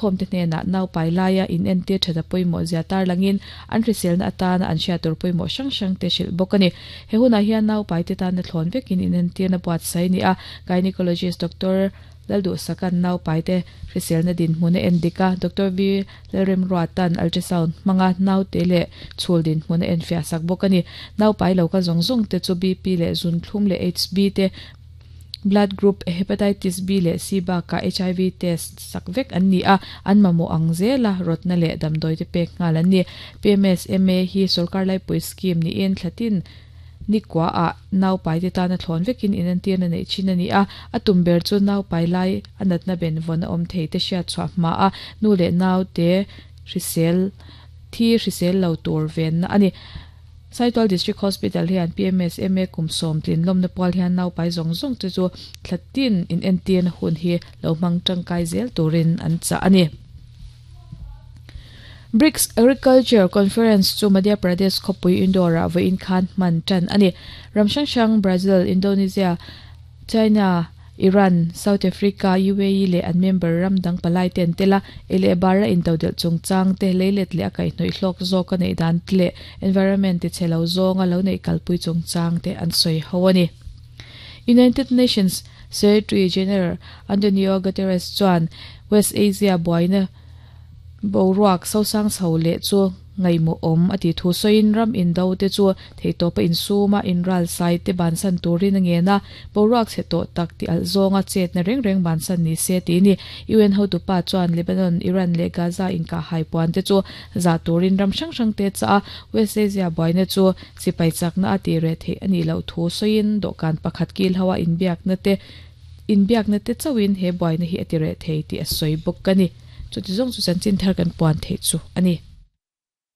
Kalkhawmte hnenah naupai laia inentir that a pawimawh zia tarlangin an hriselna atana an hriat tur pawimawh hrang hrangte hrilh bawk a ni. He hunah hian naupaite tana thlawn vekin inentirna buatsaih a ni a, Gynecologist Doctor Lalduhsaka'n naupaite hriselna dinhmun a en dik a, Doctor V Lalremruata'n ultrasound hmanga naute leh chhul dinhmun a enfiah sak bawk a ni. Naupai lo kal zawng zawngte chu BP leh zuntlum leh HB te Blood group Hepatitis B leh C bakah hiv test sak vek an ni a, an mamawh ang zela rawtna leh damdawi te pek nghal an ni. PMSMA hi sawrkar laipui scheme niin thlatin nikua ah naupai te tana thlawn vekin inentirna neih thin a ni a, a tum ber chu naupai lai a natna benvawn a awm thei te hriat chhuah hma a nu leh naute hrisel thi hrisel lo tur venna a ni. Saitual District Hospital hian PMSMA kum sawmtlin lawmna pual hian naupai zawng zawng te chu thla tin inentirna hun hi lo hmang tangkai zel turin an chah a ni. BRICS Agriculture Conference chu Madhya Pradesh khawpui Indore-ah vawiin khan hman tan a ni. Ram hrang hrang Brazil, Indonesia, China, Iran, South Africa, UAE leh an member ram dang palai te an tel a, ei leh bara intodelh chungchang te, leilet leh a kaihhnawih hlawk zawk a neih dan te leh environment tichhe lo zawnga lo neih kalpui chungchang te an sawi ho a ni. United Nations Secretary General Antonio Guterres chuan West Asia buaina Boruak sosang chho leh chu ngaihmawh awm a tih thu sawiin ram indo te chu theihtawpa insuma inral sai te bansan turin a ngen a, boruak chhe tawh tak ti alh zawnga chetna reng reng bansan ni se tih ni. UN hotupa chuan Lebanon, Iran leh Gaza inkahhai puan te chu zah turin ram hrang hrang te chah a, West Asia buaina chu sipai chakna a tih reh theih a nih loh thu sawiin dawhkan pakhat kil ho a inbiakna te Inbiakna te chauhin he buaina hi a ti reh thei tih a sawi bawk a ni. Chuti zawng chu chanchin thar kan puan theih chu a ni.